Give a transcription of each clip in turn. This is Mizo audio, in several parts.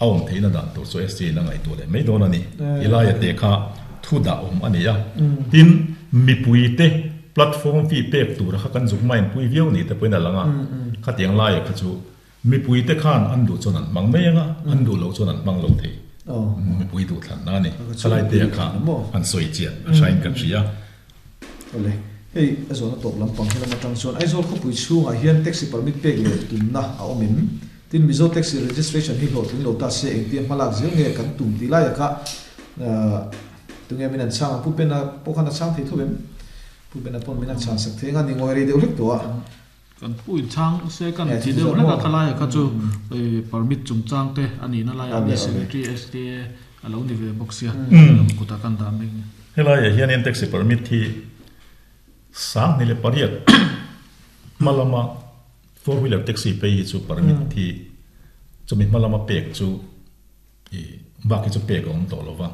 A awm theihna dan tur chu STA in a ngaihtuah leh mai dawn a ni. Ti laia te kha thu dah awm a ni a. Tin, mipuite platform fee pek tura kha kan zuk main pui viau ni te pawhin a lang a. Khatiang laia kha chu mipuite khan an duh chuan an hmang mai ang a, an duh loh chuan an hmang lo thei. Mipui duhthlanna a ni. Khalai te kha an sawi chian a hrain kan hria. Awle, hei a zawhna tawp lampang he lam atang chuan Aizawl khawpui chhungah hian taxi permit pek leh tumna a awm em? Tin, Mizo taxi registration hi hlawhtling lo ta se engtia hmalak zel nge kan tum tih lai akah tunge min an chhang ang? Pu Bena pawh khan a chhang thei tho em? Pu Bena pawn min an chhan sak thei anga ni ngawi rei deuh hlek tawh a. Kan pu in chhang se kan ti deuh hlek a, khalai kha chu permit chungchang te a nihna laiah mi secretary SDA a lo ni ve bawk sia, kutah kan dah mek ni. Helaiah hianin taxi permit hi 2008 hma lama four wheeler taxi phei hi chu permit hi chumi hma lama pek chu ih bak hi chu pek a awm tawh lo va,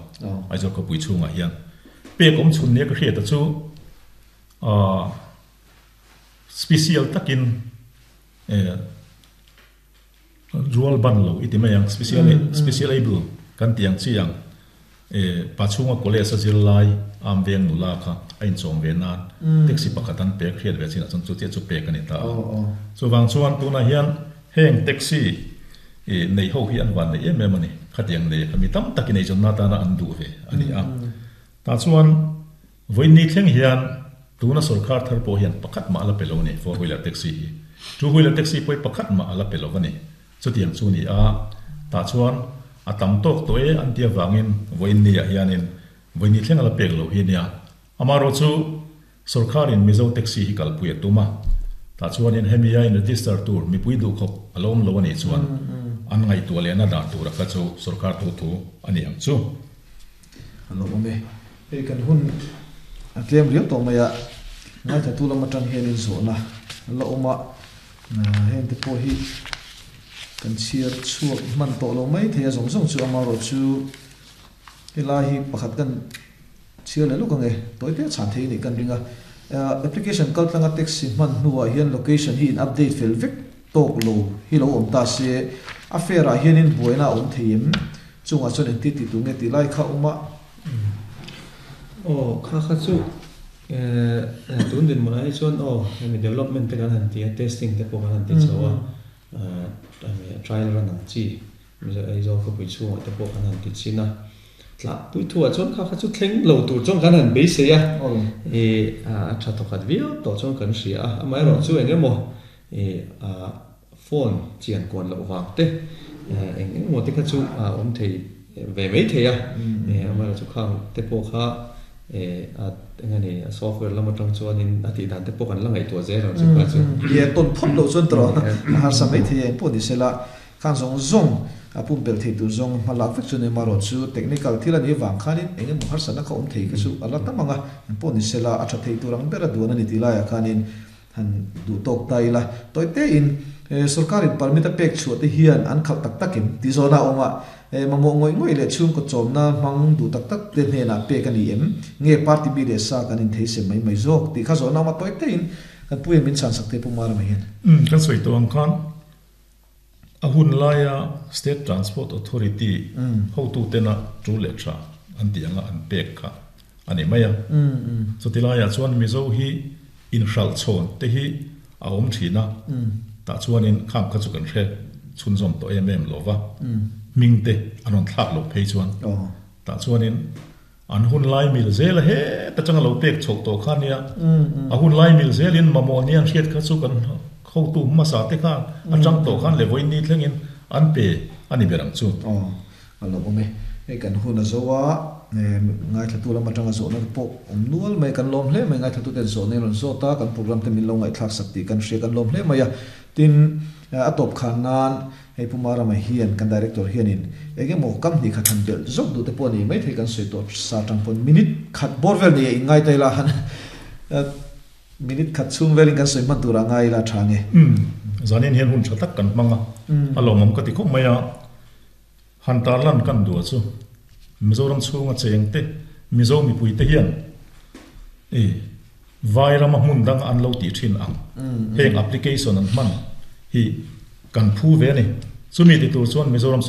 Aizawl khawpui chhungah hian pek awm chhun nia ka hriat a chu ahh Special takin eh rual ban lo i ti mai ang, special special able kan tih ang chi ang eh pa chhunga college a zir lai am veng nula kha a inchawm ve nan taxi pakhat an pek hriat ve chinah chuan chu chiah chu pek a ni ta a. Chuvang chuan tunah hian heng taxi eh nei ho hi an van nei em em a ni, khatiang nei kha mi tam takin eizawnna atana an duh ve a ni a. Tah chuan Vawiinni thleng hian tuna sorkar thar pawh hian pakhat mah a la pe lo a ni, four wheeler taxi hi. Two wheeler taxi pawh hi pakhat mah a la pe lo a ni. Chutiang chu ni a, tah chuan a tam tawk tawh e an ti avangin vawiinni ah hianin vawiinni thleng a la pek lo hi a nia. Amaherawh chu sorkarin Mizo taxi hi kalpui a tum a, tah chuanin hemi a in register tur mipui duhkhawp a lo awm lo a nih chuan an ngaihtuah lehna dan tura kha chu sorkar thu thu a ni ang chu. A lo awm e. Hei kan hun a tlem riau tawh mai a, ngaithatu lam atang hianin zawhna a la awm a, heng te pawh hi kan chhiar chhuak hman tawh lo mai thei a zawng zawng chu amaherawh chu helai hi pakhat kan chhiar leh lawk ang e, tawi te chhan thei a nih kan ring a. Application kal tlanga taxi hman hnuah hian location hi in update fel vek tawk lo hi lo awm ta se, a fare ah hianin buaina a awm thei em? Chungah chuan engti ti tur nge tih lai kha awm a. Aw, kha kha chu eh tun dinhmunah hi chuan aw hemi development te kan han ti a, testing te pawh kan han ti chho a, hemi trial run ang chi Aizawl khawpui chhungah te pawh kan han ti chin a, tlahpui thuah chuan kha kha chu thleng lo tur chuan kan han beisei a, ih a tha thawkhat viau tawh chuan kan hria a, amaherawh chu eng emaw ih Phone chian kuan loh vang te eng eng emaw te kha chu a awm thei ve mai thei a, amaherawh chu khang te pawh kha a eng a ni a software lam atang chuanin a tih dan te pawh kan la ngaihtuah zel ang chu kha chu. Ye tawn phawt loh chuan tawh a harsa mai thei a engpawh ni sela khang zawng zawng a pumpelh thei tur zawng hma lak vek chu ni amaherawh chu technical thil a nih vang khanin eng emaw harsatna kha awm thei kha chu a la tam ang a, engpawh ni sela a tha thei tur ang ber a duan a ni tih laiah khanin Han duh tawk ta ila, tawi tein sorkarin permit a pek chhuah te hian an khalh tak tak em tih zawhna a awm a, mamawh ngawih ngawih leh chhungkaw chawmna hmang duh tak tak te hnenah pek a ni em? Nge party mi leh sa kan inthei sem mai mai zawk tih kha zawhna a awm a, tawi tein kan pu hian min chhansak te Pu Marama hian. Umm, kan sawi tawh ang khan a hun laia State Transport Authority hotutena tul leh tha an tih anga an pek kha a ni mai a. Chuti laiah chuan Mizo hi inhralh chhawn te hi a awm thin a, tah chuanin khang kha chu kan hre chhunzawm tawh em em lo va, hming te an rawn thlak loh phei chuan tah chuanin An hun lai mil zel a heta changa lo pek chhoh tawh kha nia. A hun lai mil zelin mamawh nia an hriat kha chu kan hotu hmasa te khan atang tawh khan leh vawiin ni thlengin an pe a ni ber ang chu. Aw, a lo awm e. Hei kan hun a zo a, ngaithlatu lam atanga zawhna te pawh awm nual mai, kan lawm hle mai. Ngaithlatu ten zawhna in rawn zawt a, kan program te min lo ngaihthlak sak tih kan hria, kan lawm hle mai a. Tin, a tawp khan nan Hei Pu Marama hian kan Director hianin eng emaw kam hnih khat han belh zawk duh te pawh a ni maithei kan sawi tawh sa tang pawn minute khat bawr vel nei a inngai ta ila han minute khat chhung velin kan sawi hman turah ngai ila tha nge. Umm zanin hian hun tha tak kan hmang a, a lawmawm ka ti khawp mai a, han tarlan kan duh chu Mizoram chhunga cheng te Mizo mipui te hian i Vai rama hmun dang an lo tih thin ang. Heng application an hman hi kan phu ve a ni. Chumi ti tur chuan Mizoram sorkar.